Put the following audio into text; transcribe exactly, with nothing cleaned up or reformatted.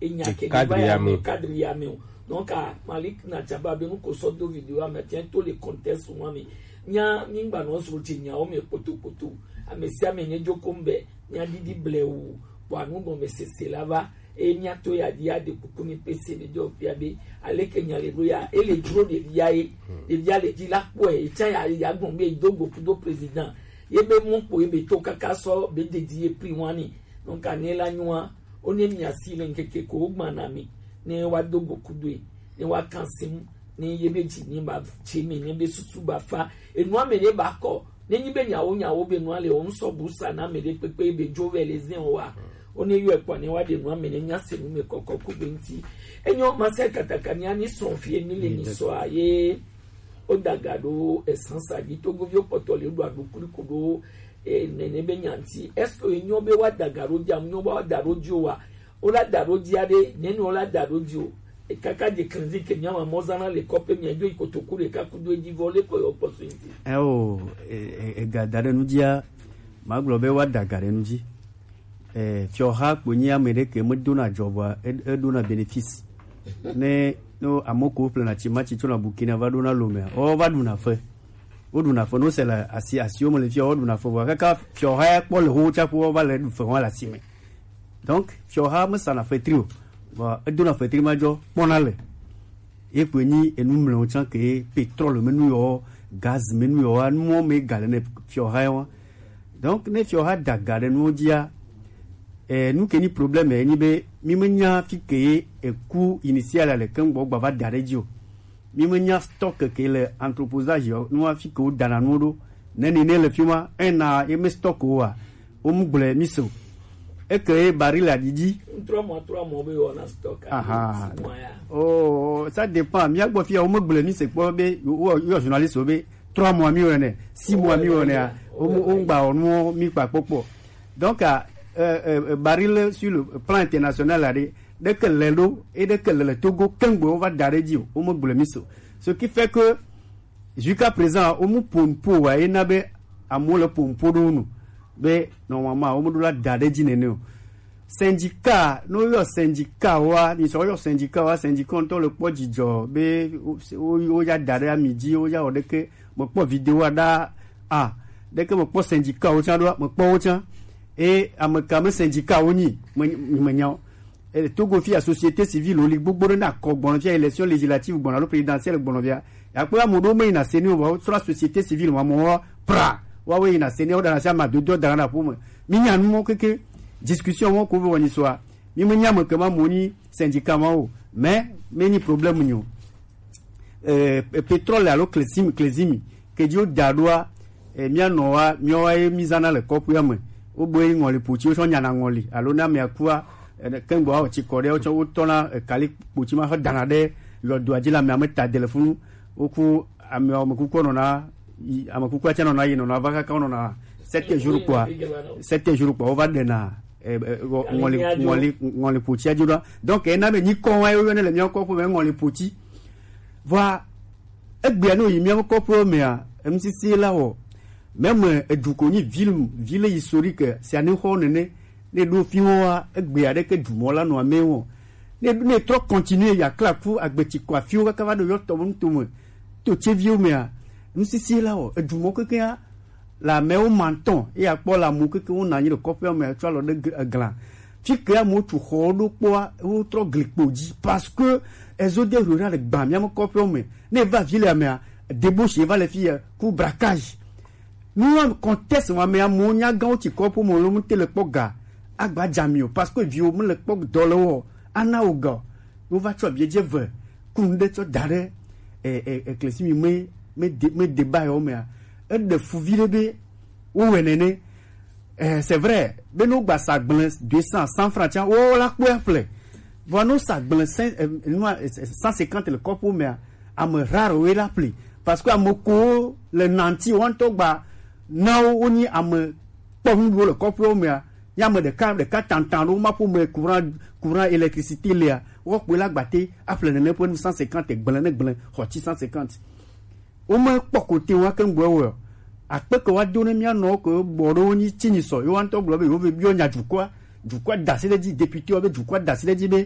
enya ke ni va ya me cadre ya me o. Donc a Malik na tsa ba be nu ko sɔ do video ame tiɛ to le contexte wa me. Nya mi gba nɔ zro dze nyawo me kpotopoto. Ame sia ame ne dzo ko ŋbɛ, nya didi blewu, bɔ anu gɔme sese la va. Eye mía to ya ɖi aɖe kuku ni pese ɖe ɖo fia be, aleke nya le ɖo ya, ele dzro ɖevia ye, ɖevia le dzi la kpɔe, etsa ya ya gbɔn be do go kudo président, ye be mɔ kpo ye be to kaka sɔ be dedi ye pri wani. Donc ane la nyua, o ne mia si le ŋkeke ko o gbana mi, ne wa do go kudo ye, ne wa kan sim, ne ye be dzi ni ba tse mi, ne be susu ba fa, enua me ne ba kɔ, ne nyi be nyawo nyawo be nua le o ŋsɔ bu sa na me ɖe kpekpe be dzo vɛ le zin o wa. O ne yɔ ekpɔ ne wa ɖe nua me ne mia se nu me kɔkɔ ku be ŋti. Enyo ma se kataka ni ani sɔn fie mi le ni sɔ a ye. O daga ɖo esansa dzi togovi o kpɔtɔ le ɖo aɖo kuli ko ɖo e nene be nyanti. Est-ce que enyo be wa daga ɖo dzi amu nyo be wa da ɖo dzi o wa? Wo la da ɖo dzi aɖe, nenu wo la da ɖo dzi o. Ekaka dze klinzi ke mía ma mɔ zana le kɔƒe mía dzo yi kotoku ɖeka kudo edzi vɔ le kɔ yɔ kpɔ so ŋti. Eo, e, e, ega da ɖe nu dzia, magblɔ be woada ga ɖe nu dzi. E, fiɔha kpo nyi ame ɖe ke medona dzɔ vɔa, e, edona bénéfice. Ne, ne ame ko ƒlena tsi ma tsi tso na Burkina va ɖona Lomea, wo va ɖuna fe. Wo ɖuna fe, no se le asi, asiwo me le fia, wo ɖuna fe vɔa, kaka fiɔha ya kpɔ le ho tsaƒe wo va le ɖu fe hã le asi me. Donc fiɔha mesana fetri o. Vɔ edona fetri ma dzɔ kpɔna le. Ye kpoe nyi enu mlɔewo tsã ke pétrole me nu yɔ, gaz me nu yɔ, nuwo me ga le ne fiɔha yɔ. Donc ne fiɔha da ga ɖe nuwo dzia, eh, nu ke nyi problème ye nyi be mi menya fi ke ye eku initial le keŋ gbɔ gba va da ɖe dzi o. Mi menya stock ke le entreposage yɔ, nua fi ke wo dana nuwo ɖo. Ne ni ne le fi ma, ena ye me stock o wa. Wo mu gblɔe mi se o. Eke ye baril adidi. Trɔ mɔ, trɔ mɔ be wɔna stock. Aha. Oh, ça dépend. Mía gbɔ fia wo me gblɔe mi se kpɔ be wo yɔ journaliste wo be trois mois mi wɔnɛ, six mois mi wɔnɛ a. Wo mu wo gba wɔnu mi kpa kpɔkpɔ. Donc, euh, euh, baril sur le plan international la de, ɖeke le ɖo, e ɖeke le le Togo kengbe wo va da ɖe dzi o, wo me gblɔe mi se o. Ce qui fait que jusqu'à présent, wo mu po nupo wa, ye na be amewo le po nupo ɖo nu be normalement wo me ɖo la da ɖe dzi nene o. Syndicat, ne woyɔ syndicat wa, mi sɔ woyɔ syndicat wa, syndicat ŋutɔ le kpɔ dzidzɔ be wo, wo, wo ya da ɖe ami dzi, wo ya wɔ ɖeke, mekpɔ video wa ɖa a, ɖeke mekpɔ syndicat wo tsã ɖoa, mekpɔ wo tsã. E ame ka me syndicat wo nyi, me, me nya o. E, Togo fia société civile wo li gbogbo ɖe na kɔ gbɔnɔ fia élection législative gbɔnɔ alo présidentielle gbɔnɔ fia. Ya kpɔ ame ɖewo me yina seni o, vɔ sra société civile ma mɔ pra. Wa wo yina seni o dana sia ma dodo dana na ƒome. Mi nya nu mɔ keke discussion mɔ ko vɔ ni soa. Mi me nya me ke ma mɔ ni syndicat ma o. Mais me ni problème nyo. Eh, pétrole alo klezimi, klezimi, ke dzi woda ɖoa, eh, mía nɔwa, míawoa ye mí zãna le kɔƒea me. Wogbe ŋɔli potsi, wotsɔ nyana ŋɔli. Alo ne amea kua, eh, ne kengbe woawɔ tsikɔ ɖe, wotsɔ, wotɔna, eh, kali potsi ma xɔ dana ɖe yɔdoa dzi le amea me ta de le funu. Woku amea, ame kukua nɔna yi, ame kukua tsɛ nɔna yi, nɔna va kaka wonɔna sept jours kpɔa, sept jours kpɔa, wova ɖena, eh, eh, ŋɔli, ŋɔli, ŋɔli potsia dzi ɖoa. Donc, ena be nyikɔ wa ye woyɔnɛ le mía kɔƒe me ŋɔli potsi. Vɔa, egbea ne wòyi míaƒe kɔƒewo mea, enusisie la wɔ. Meme edu ko nyi ville, ville historique, sia ne xɔ nene, ne ɖo fi wɔa, egbea ɖeke dumɔ la nɔ ame wɔ. Ne, ne trɔ continuer ya kla ku agbetsi ko afiwo kaka va ɖo yɔ tɔ nutome, to tseviwo mea, enusisie la wɔ. Edumɔ kekea, le amewo ma ŋutɔ, eya kpɔ le amewo keke wonɔ anyi le kɔƒea me tsɔ alɔ ɖe gl-, egla. Fi ke amewo tu xɔwo ɖo kpɔa, wotrɔ glikpo dzi. Parce que ezo de rura le gbã mía me kɔƒewo me. Ne eva vi le amea, débauche va le fi ya, ku braquage. Nu wa contexte ma me amewo nya gãwo tsi kɔƒe me lo mu te le kpɔ ga. Agba dza mi o, parce que viwo me le kpɔ dɔ le wɔ, ana wo ga o. Wova tsɔ abiedze ve, ku nu ɖe tsɔ da ɖe, e, e, e, klesimi me, me de, me de ba yɔ mea. Eɖe fu vi ɖe be, wo wɛ nene. Eh, c'est vrai, be no gba sa gblẽ deux cents, cent francs tsã, wo la kpɔe aƒle. Vɔ no sa gblẽ cent, eh, nua, eh, cent cinquante le kɔƒe mea, ame rare woe la ƒle. Parce que ame ko le nanti, wo ŋutɔ gba, na wo, wo nyi ame kpɔ nuɖuɖu le kɔƒewo mea, nye ame ɖeka, ɖeka tantan ɖo, ma ƒo me courant, courant, électricité lea, woakpɔe la gbate aƒle nene ƒe nu cent cinquante gblẽ ne gblẽ, xɔ tsi cent cinquante. Wome kpɔ kote wa ke ŋgbe wɔ. Akpe ke wa do ne mía nɔ ke bɔ ɖe wo nyi tsi nyi sɔ. Yo wa ŋutɔ gblɔ be yewo be biɔ nya dukɔa, dukɔa da asi ɖe dzi, député wa be dukɔa da asi ɖe dzi be